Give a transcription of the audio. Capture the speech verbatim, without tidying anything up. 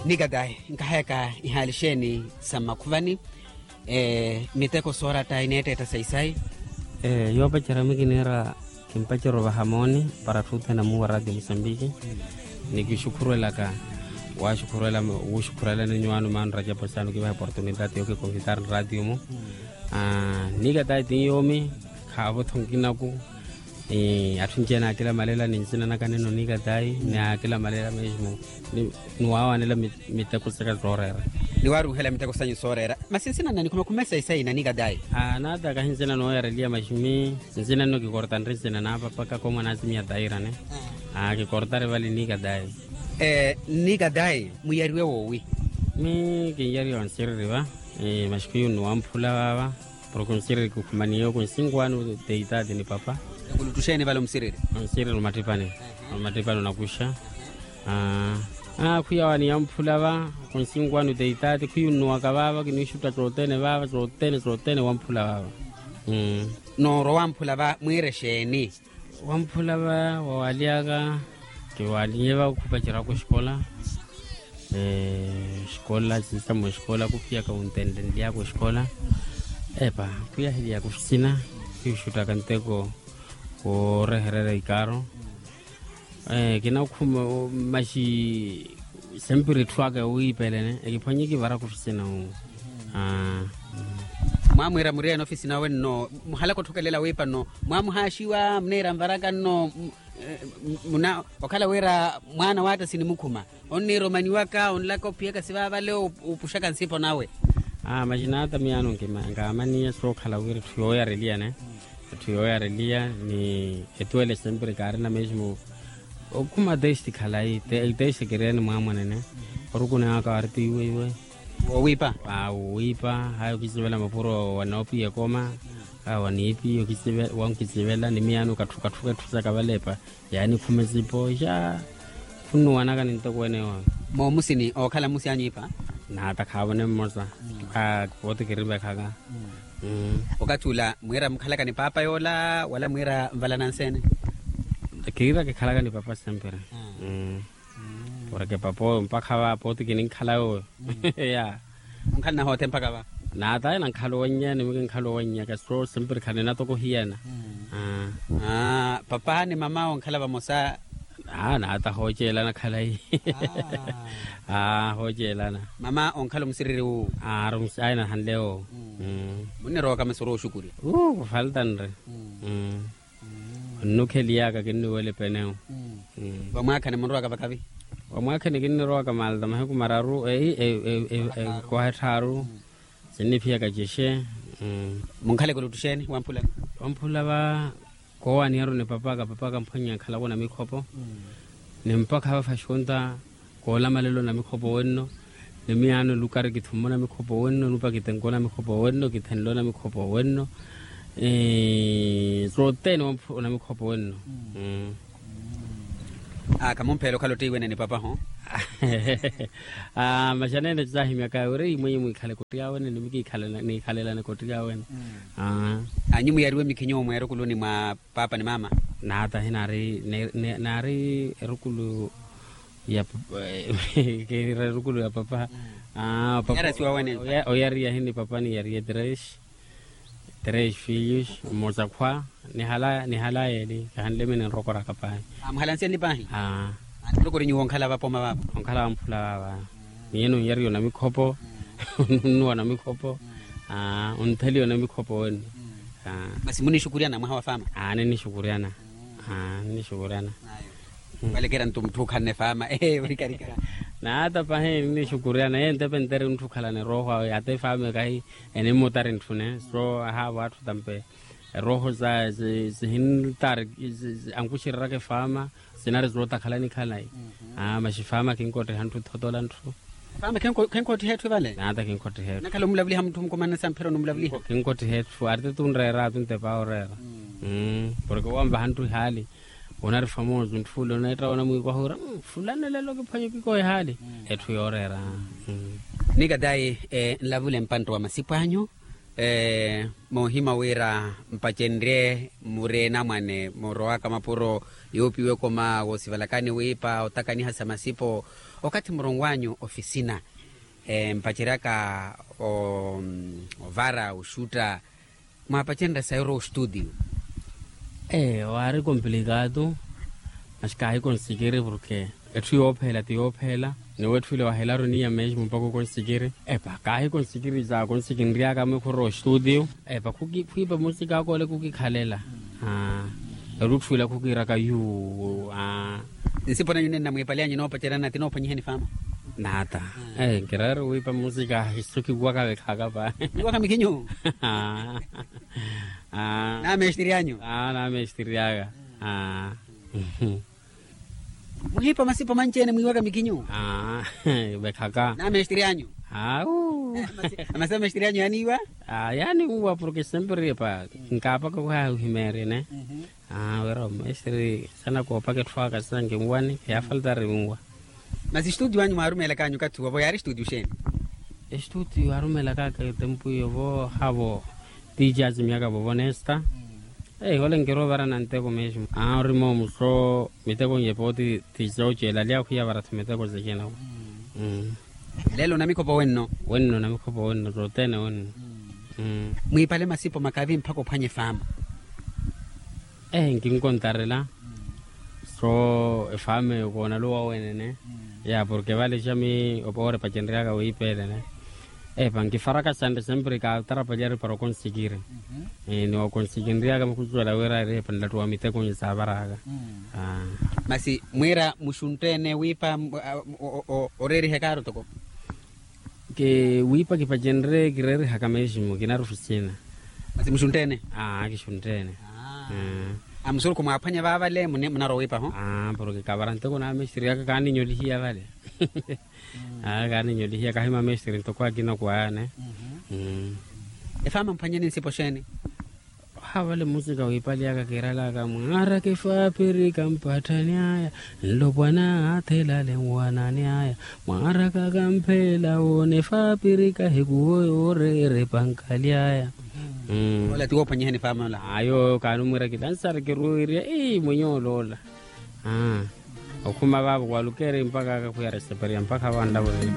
Nikatayi, nkahayaka ihaali xeeni sa mmakhuvani? Miteko soorata ineetteetta sayi-sayi. Yoopacerya mwi kiniira kimpacerya ovaha mooni para atthu othene amuuwa ratio musambiki. Ni kixukhurwelaka waxukhurwela wuxukhurwelani nyuwaano maano rajapo saani okivaha oportunitati yookikonvitari ratio-mu. Nikatayi ti yoomi khaavo-tho nkinaku. Atthu anci-ene aakilamalela ni nsina naka nino nikatayi ni aakilamalela mesmo ni waawanela miteko saka sooreera. Ni waaruuhela miteko sanyu sooreera. Masi nsina nna nikhume khume sayi-sayi na nikatayi. Naata kahi nsina nooyareliya maximi. Nsina nno kikortanre nsina naapapaka koomwa naasimiya tairane. Kikortare vale nikatayi. Nikatayi mwiyariwe woowi? Mi kinyariwa onsiriri va. Maxikhuyu nno wamphula vaava. Porke onsiriri kikhumaniye oku nsinkwani. Teitaati ni papa. Ekulutuxeeni vale omsiriri? Onsiriri omattipani. Omattipani onakuxa. Khwiya waani yamphula va. Oku nsinkwani oteitaati khwiya onnuwaka vaava kiniixutta cothene vaava cothene cothene wamphula vaava. Noorwa wamphula va mwiire xeeni? Wamphula va wawalyaka. Kiwalinye va okhupacerya oko exikola. Exikola sisamu exikola kuphiyaka wuntenlenlyaka exikola. Epa khwiyahilyaka ofisina. Khwiixuttaka nteko woorehererya ikaaro. Kinakhuma maxi sempre etthu aka yowiipelene ekiphwanye kivaraka ofisina. Mwamwiira muriyene ofisina awe nno muhalaka otthukelela wiipa nno? Mwamuhaaxiwa muniira nvaraka nno? Muna okhala wira mwaana waatta sinimukhuma onniira omaniwaka onlaka ophiyaka sivaavale. Opuxaka nsipo nawe. Maxinaata miyaano nkaamaniya sookhala wira etthu yooyareliyane. Etthu yooyareliya ni etuwele sempre kaarina mesmo. Okhuma testi khalayi. Testi kiriyani mwaamwanene. Orukuni aka wari tiiwe iwe. Woowiipa. Woowiipa. Haya okisivela mapuro wanoopiya ekoma. Haya waniipiya okisivela wankisivela ni miyaano katthu katthuka etthu saka valepa. Yaani khumesipo xa. Khunnuwanaka ni ntoko ene yooyo. Moomusini ookhala mmusi anyiipa. Naata khaavone mmosa. Pooti kirivekhaka. Okathi ula mwiira mukhalaka ni paapa yoola wala mwiira nvalana nseene? Kiira kikhalaka ni papa sempre. Porke papa oyo mpakha va pooti kininkhala yooyo. Ya. Munkhalana hoothe mpakha va? Naataye nankhala owannyani mwi kinkhala owannyaka so sempre khanina toko hiyana. Papa ni mama onkhala vamosa? Naata hooceelana khalayi. Hooceelana. Mama onkhala omusiriri wu? Ayi nahanle wo. Munnirowaka masi orwa oxukurya? Kufaltanre. Onnukheliyaka kinniwela epenewu. Vamwaakhani munrowaka vakavi? Vamwaakhani kinnirowaka malta mahiku mararu. Ekwaha etthaaru. Sinniphiyaka cexe. Munkhaleke oluttuxeeni wamphulani? Wamphula va. Koowaniyaruni papaka papaka amphwanya nkhalaka onamikhopo. Ni mpakha vafaxunta koolamalelo namikhopo wenno. Ni miyaano lukari kithummona mikhopo wenno nupa kitenko namikhopo wenno kithenlo namikhopo wenno. Sothene onamikhopo wenno. Khamumphela okhala ottiiwene ni papahu? Maxanene saahimyaka wira imwenye mwikhale kottiyawene ni mikiikhalelane kottiyawene. Anyu mwiyariwe mikhinyu mweerukuluni mwa paapa ni mama? Naata hinaari naari erukulu ya papa. Kiira erukulu ya papa. Oyariya hini papa niyariye tres. Tres filhos. Mmosa khwa. Nihalaye eli kahanle mini nrokoraka paahi. Muhalanse nli paahi. Nrokoraka nyuwo onkhala vapoma vavo? Onkhala vamphula vava. Miyo nunnyariya onamikhopo. Nunnuwa namikhopo. Ontheliya onamikhopo wenno. Masi munixukuryana mwaha wa faama? Ninixukuryana. Ninixukuryana. Valekeera nto mutthu okhanne faama. Naata pahi ninixukuryana ye ntepe ntere ntthu okhalana erooho awe ata efaama ekahi. Enimmutari ntthune so ahaavo atthu tampe. Erooho sihintari ankuxereraka efaama. Sinari sootakhala nikhala. Maxi faama kinkottiha ntthu thotola ntthu. Faama kinkottiha etthu evale? Naata kinkottiha etthu. Nakhala omulavuliha mutthu mukumanana samphira onumulavuliha? Kinkottiha etthu ari tete onreera atu ntepa oreera. Porke wanvaha ntthu ehaali. Onari famoso ntthu ule oneetta onamwiiku ahuura fulani lelo kiphwanya okikoha ehaali. Etthu yooreera. Nikatayi. Nlavule mpantta wa masipo anyu. Moohima wira mpacenrye muri enamwane murowaka mapuro, yuupiwe ekoma woosivalakani wiipa otakaniha sa masipo. Okathi muronwanyu ofisina mpaceryaka ovara oxutta, mwaapacenrya sayi orowa oxututiyo? Eyo waari komplikaatu. Masi kaahikonsikiri porke etthu yoopheela ti yoopheela. Ni wetthu ile wahelaru niya mesmo mpakha okonsikiri. Epa kaahikonsikiri sa konsikinryaka mwikhurwa oxututiyo. Epa khwiipa musika aka ole khukikhalela. Erutthu ila khukiiraka yuu. Nsipo nanyu nenna mwiipale anyu enoopaceryana ti enoophwanyihani faama? Naata. Nkiraari wiipa musika hiso kikuwaka vekhaka pahi. Niwaka mikinyu. Namesitiri anyu. Namesitiri aka. Muhiipa masipo manci-ene mwiiwaka mikinyu. Vekhaka namesitiri anyu. Amasi amesitiri anyu yaaniiwa. Yaaniiwa porke sempre epa nkaapaka okhaya ohimeerye ne. Wira omesitiri sana koopaka etthu aka sanki nwane yaafaltari nwa. Masi estudio anyu mwaarumeelaka anyu okathi wovo yaari estudio xeeni? Estudio yaarumeelaka aka etempu yovo havo. Tiici asimyaka vovo nesta. Ole nkiroovara na nteko mesmo. Ori moomu so miteko nyepo ti tiici oceela ali akhwiya vara tho miteko secena. Lelo namikhopo wenno? Wenno namikhopo wenno tothene wenno. Mwiipale masipo makavi mpakha ophwanye efaama. Nkinkontarela. So efaama eyo koonaluwa wenene. Ya porke vale xami oore epacenryaka wiipa ele ne. Epa nkifaraka xanre sempre kaatarapaliyari para okonsikiri. Ni okonsikinryaka mukhucuwela wira eri epa nlattuwa mitekonyi saavaraka. Masi mwiira muxuntte-ene wiipa oreeriha ekaaro toko? Wiipa kipacenrye kireerihaka mesmo kinaari ofisina. Masi muxuntte-ene? Kixuntte-ene. Amusurukhu mwaaphwanya vaavale munarowa wiipa ho? Porke kavara nteko naamesitiri aka kaaninyolihiya vale. Kaaninyolihiya kahi mamesitiri ntoko akina okwayane. Efaama mphwanyeni nsipo xeeni? Ohaavale musika wiipaliyaka kiiralaka mwaaraka efaapirika mpatthani aya. Nlopwana athelale nwanani aya. Mwaaraka kampheela woona efaapirika ehikuwo yooreera epankali aya. Ola ti woophwanyihani efaama ola? Ayo kaanimwiira kilansari kiruwiirya ii mwenye oloola. Okhuma vaavo walukeeri mpakha akakhwiya reseperiya mpakha vanlavureeni.